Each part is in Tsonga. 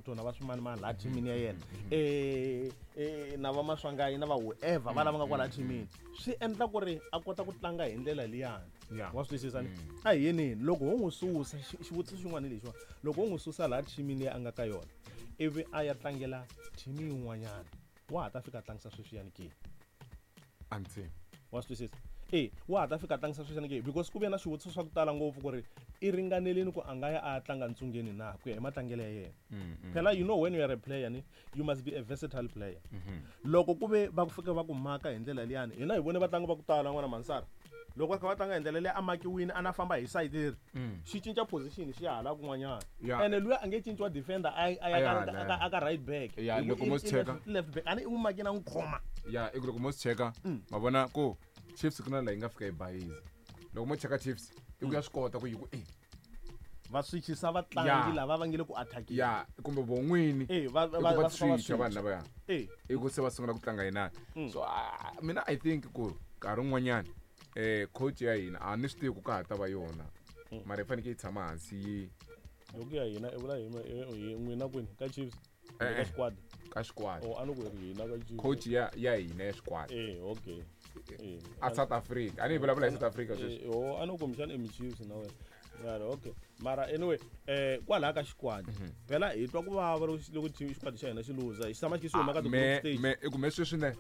Hotto na va swimanimani laha thimini ya yena, na va Maswanganyi na va whoever va lava nga kwala thimini, swi endla ku ri a kota ku tlanga hi ndlela liyani. Wa swi twisisa ni? A hi yeneni loko ho n'wi susa, xivutiso xin'wana hi lexiwani, loko ho n'wi susa laha thimini leyi a nga ka yona ivi a ya tlangela thimi yin'wanyana, wa ha ta fika a tlangisa sweswiyani ke? A ni tshembi. Wa swi twisisa? E, wa ha ta fika a tlangisa sweswiyani ke? Because ku ve na swivutiso swa ku tala ngopfu ku ri i ringanelini ku a nga ya a ya tlanga ntsungeni na, ku ya hi matlangelo ya yena. Phela you know when you are a player ni, you must be a versatile player. Loko ku ve va ku fika va ku maka hi ndlela liyani, hina hi vone vatlangi va ku tala n'wana Mansara, loko va kha va tlanga hi ndlela leyi a makiwini, a na famba hi side leri, xi cinca position xi ya hala kun'wanyana. Ene luya a nge cinciwa defender a ya A ya hala. a ka right back. Ya, Hi ku loko mo i swi cheka. left back. A ni i n'wi makini a n'wi khoma. Ya, i ku loko mo swi cheka, ma vona ku Chiefs ku na laha yi nga fika yi bayiza. Loko mo cheka Chiefs, i ku ya swi kota ku yi ku e. Va switchisa vatlangi lava va nge le ku attack-eni. Ya, kumbe vo n'wini. E, I ku va va fika va switcha vanhu switcha. lavaya. E. I ku se va sungula ku tlanga yinani. So, mina I think ku nkarhi wun'wanyani, coach ya hina a ni swi tivi ku ka ha ta va yona. Mara yi fanekele yi tshama hansi yi Loko ya hina i vula hi n'wina kwini ka Chiefs? Eh, Ka eh. squad. Ka squad. Oh, a ni ku ri hina ka Chiefs. Coach ya hina ya squad. Eh, okay. Eh. A South Africa. A ni vulavula hi South Africa sweswi. Eh, oh, a ni ku kumbexana i mi Chiefs na wena. Mara okay. Mara anyway, kwalaha ka xikwadi. Phela hi twa ku vava loko xikwadi xa hina xi luza. Xi tshama xi xi huma ka ti group stage. I ku me sweswi ne,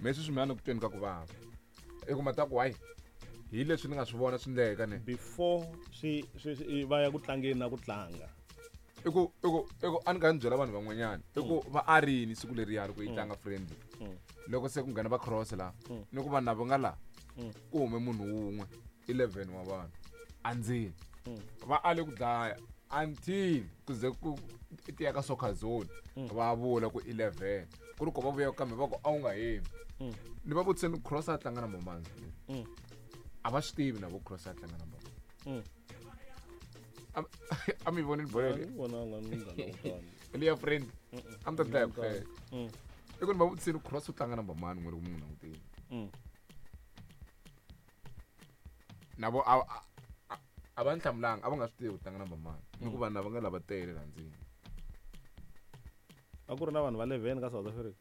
me sweswi mina ni ku tweni ka ku vava. I ku mata ku why? Hi leswi ni nga swi vona swi ndleka ne. Before swi va ya ku tlangeni na ku tlanga. I ku a ni nga ni byela vanhu van'wanyana. I ku va arini siku leriya loko yi tlanga friendly. Loko se ku nghena va cross la, ni ku vanhu lava nga la, ku hume munhu wun'we, 11 wa vanhu. Andzeni. Va ale ku dlaya until ku ze ku tiya ka soccer zone. Va vula ku 11. Ku ri ku va vuya kambe va ku a wu nga hemi. Ni va vutise ni cross a tlanga number mani. A va swi tivi na vo cross a tlanga number mani. A mi voni bolo leyi? A ni vonanga ni nga langutanga. Leya friend. A mi ta dlaya ku hleka. I ku ni va vutise ni cross u tlanga number mani n'we loko mi n'wi langutile. Na vo a va ni hlamulanga, a va nga swi tivi ku tlanga number mani. Ni ku vanhu lava nga lava tele laha ndzeni. A ku ri na vanhu va 11 ka South Africa.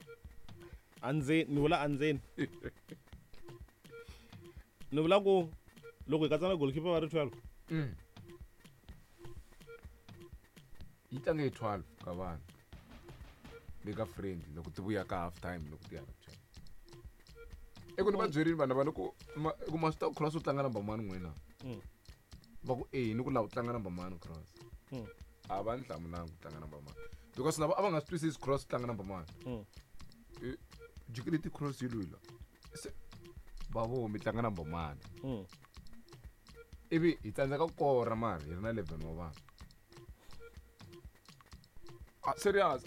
Andzeni, ni vula andzeni. Ni vula ku loko hi katsa na goalkeeper va ri 12. Yi tlange hi 12 ka vanhu. Le ka friendly loko ti vuya ka half time loko ti ya ka 12. I ku ni va byerini vanhu lava ni ku i ku ma swi tiva ku cross u tlanga number mani n'wina. Va ku e ni ku lava ku tlanga number mani cross. A va ni hlamulanga ku tlanga number mani. Because lava a va nga swi twisisi cross tlanga number mani. Jikele ti cross yi lwila. Se va vo mi tlanga number mani. Ivi hi tsandzeka ku kora mara hi ri na 11 wa vanhu. Serious,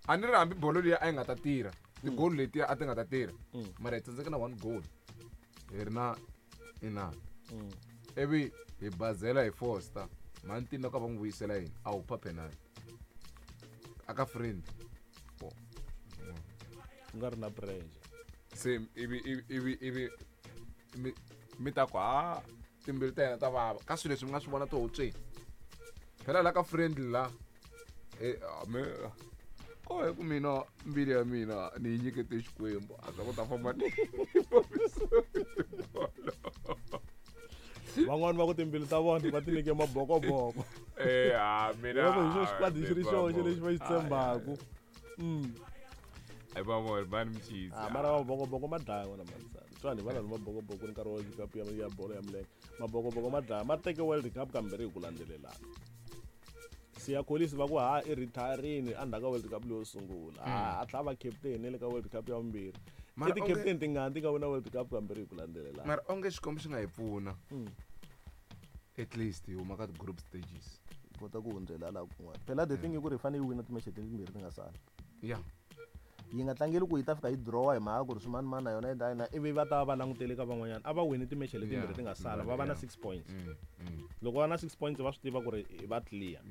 a ni ri hambi bolo liya a yi nga ta tirha. Ti-goal letiya a ti nga ta tirha. Mara hi tsandzeka na 1 goal. Hi ri na inani. Ivi hi bazela hi Foster. Mantini loko va n'wi vuyisela yini? A wu pha penalty. A ka friend. Oh. Ku nga ri na pressure. Se ivi, ivi, ivi, ivi mi, mi ta ku ha timbilu ta yena ta vava. Ka swilo leswi mi nga swi vona tihutsweni. Phela la ka friendly la. Me ko hi ku mina mbilu ya mina ni yi nyikete Xikwembu, a swa ku ta famba ni bolo. Van'wani va ku timbilu ta vona va ti nyike mabokoboko. Ha, mina Loko hi xo xikwadi xi ri ni xoxe lexi va xi va vona. tshembaku. Ai va vona, va ni mchizi. Mara mabokoboko ma dlaya n'wana Mansana. Twani va lava mabokoboko nkarhi wa World Cup ya bolo ya milenge. Mabokoboko ma dlaya, ma teke World Cup kambirhi hi ku landzelelana. Siya Kolisi va ku ha i retiring endzhaku ka World Cup leyo sungula. A tlhela va captain le ka World Cup ya vumbirhi. Mara I ti onge captain tingani ti nga wina World Cup kambirhi hi ku landzelelana. Mara onge Xikwembu xi nga hi pfuna. At least hi huma ka ti group stages. Hi kota ku hundzela laha kun'wana. Phela the thing i ku ri hi fanele yi wina ti match timbirhi ti nga sala. Yi nga tlangeli ku yi ta fika yi draw hi mhaka ku ri swimanimani na yona yi ta yina, ivi va ta va langutele ka van'wanyana. A va wini ti-match letimbirhi ti nga sala, va va na 6 points. Loko va na 6 points va swi tiva ku ri va clear.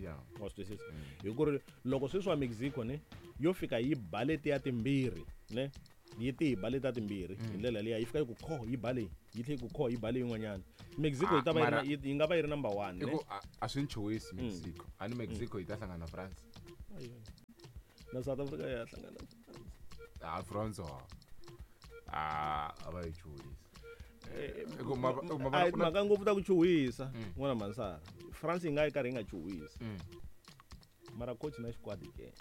Wa swi twisisa? Hi ku ri loko sweswi wa Mexico ne yo fika yi ba letiya timbirhi ne yi ti hi ba letiya timbirhi hi ndlela liya yi fika yi ku kho yi ba leyi yi tlhela yi ku kho yi ba leyin'wanyana. Mexico yi ta va yi ri na, Mara yi nga va yi ri number 1, I ne? ku a swi ni chuhisi Mexico. A ni Mexico yi ta hlangana na France. Ayo. Na South Africa ya hlangana. Ah, France a a va yi chuhisi. A mhaka ngopfu ta ku chuhisa n'wana Mansara. France yi nga yi karhi yi nga chuhisi. Mara coach na xikwadi ke.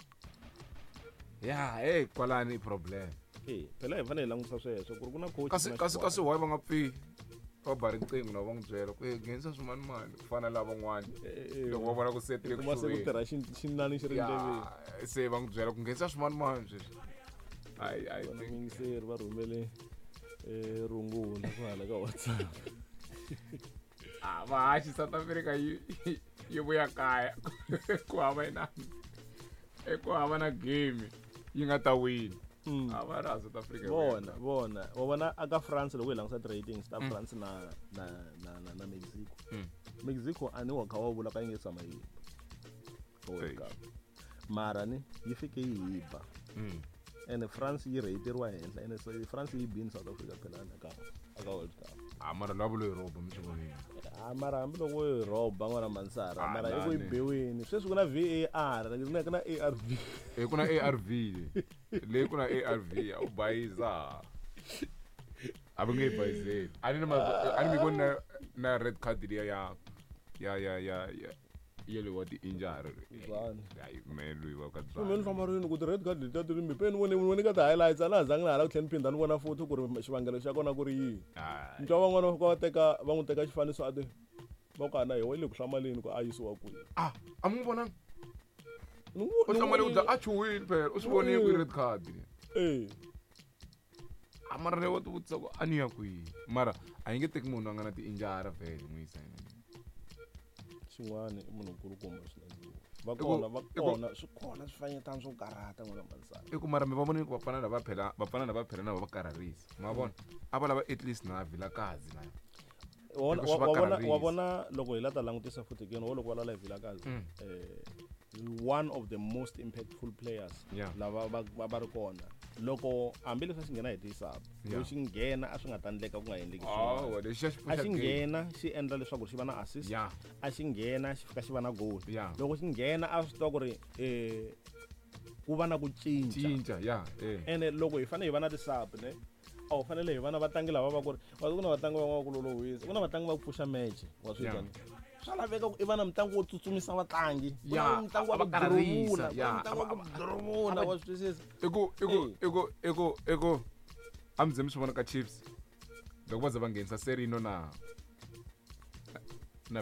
Ya, hey, kwalani i problem. Eh, phela hi fanele hi langutisa sweswo ku ri ku na coach. Kasi why va nga pfi va ba riqingho na va n'wi byela ku nghenisa swimanimani ku fana na lavan'wana loko va vona ku se tile ku se ku tirha xinani xi ri ndleveni se va n'wi byela ku nghenisa swimanimani sweswi. I think vayingiseri va rhumele rungula ku hala ka WhatsApp. Ah, vahaxi South Africa yi vuya kaya ku hava inani ku hava na game yi nga ta wina. A va ra South Africa. Vona vona wa vona aka France loko hi langusa ratings ta France na na na na, na Mexico. Mexico a ni wa kha wa vula ka yi nge tshama yi World Cup. Mara ni yi fike yi hiba. Ene France yi rateriwa henhla ene so France yi bini South Africa phela aka World Cup. Ah, mara lavo loyi roba mi swi vonile. Ah, mara hambiloko yi roba n'wana Mansara mara i ku yi biwini. Sweswi ku na VAR, ku na ARV. Eh, ku na ARV. Leyi ku na ARV a wu bayiza. A va nge yi bayizeli. A ni a ni mi voni na red card liya ya ya ya ya ya yele wa ti-injury. Hayi me loyi wa ka Byani. Mina ni hlamarini ku ti-red card letiya ti ri mbi. Ni vone ka ti-highlights a na ha zangi na hala ku tlhela ni phinda ni vona futhi ku ri xivangelo xa kona ku ri yini. Ni twa van'wana va teka va n'wi teka xifaniso a ti va ku ana hi wa le ku hlamaleni ku a yisiwa kwihi. Ah, a mi n'wi vonanga? U hlamale ku a chuhile phela u swi vonile ku red card. Eh. A mara leyi wa ti vutisa ku a ni ya kwihi. Mara a yi nge teki munhu a nga na ti-injury vhele n'wi yisa yena. Xin'wana i munhu nkulukumba swinene. Va kona va kona swi kona swifanyetana swo karhata n'wana Mansara. I ku mara mi va vonile ku vafana lava phela vafana lava phela na va karharisa. Ma vona? A va lava at least na Vilakazi na. Wa vona loko hi la ta langutisa futhi ke wo loko va lala hi Vilakazi. One of the most impactful players lava va ri kona. Loko hambileswi a xi nghena hi ti-sub, loko xi nghena a swi nga ta endleka ku nga endleki swin'wana. A xi nghena xi endla leswaku xi va na assist, a xi nghena xi fika xi va na goal. Loko xi nghena a swi tiva ku ri ku va na ku cinca. Ene loko hi fanele hi va na ti-sub ne, a wu fanele hi va na vatlangi lava va ku ri ku na vatlangi van'wana ku lolohisa, ku na vatlangi va ku pfuxa match wa swi twa. Swa laveka ku i va na mutlangi wo tsutsumisa vatlangi, ku na mutlangi wa ku duruvula, ku na mutlangi wa ku duruvula, wa swi twisisa. I ku a mi ze mi swi vona ka Chiefs loko va ze va nghenisa Serino na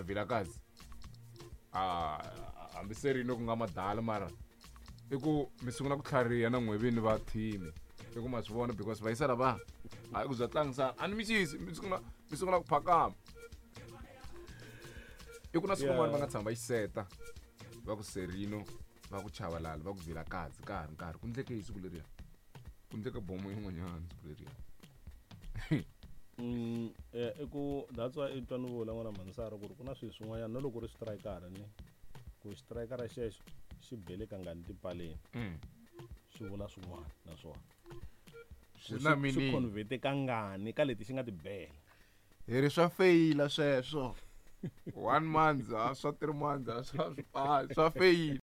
Vilakazi. Ah, hambi Serino ku nga madala mara i ku mi sungula ku tlhariha na n'wevini va team. I ku ma swi vona because va yisa lava a ku bya tlangisana a ni mi xisi mi sungula ku phakama. I ku na siku rin'wana va nga tshama va yi seta va ku Serino va ku Chabalala va ku Vilakazi ka ha ri nkarhi ku ndleke hi siku leriya ku ndleke bomo yin'wanyana siku leriya. I ku that's why i twa ni vula n'wana Mansara ku ri ku na swilo swin'wanyana na loko ri striker ni ku striker xexo xi bele kangani tipaleni swi vula swin'wana naswona swi na meaning swi convert kangani ka leti xi nga ti bela. Hi ri swa feyila sweswo. 1 month, swa 3 months, swa feyila.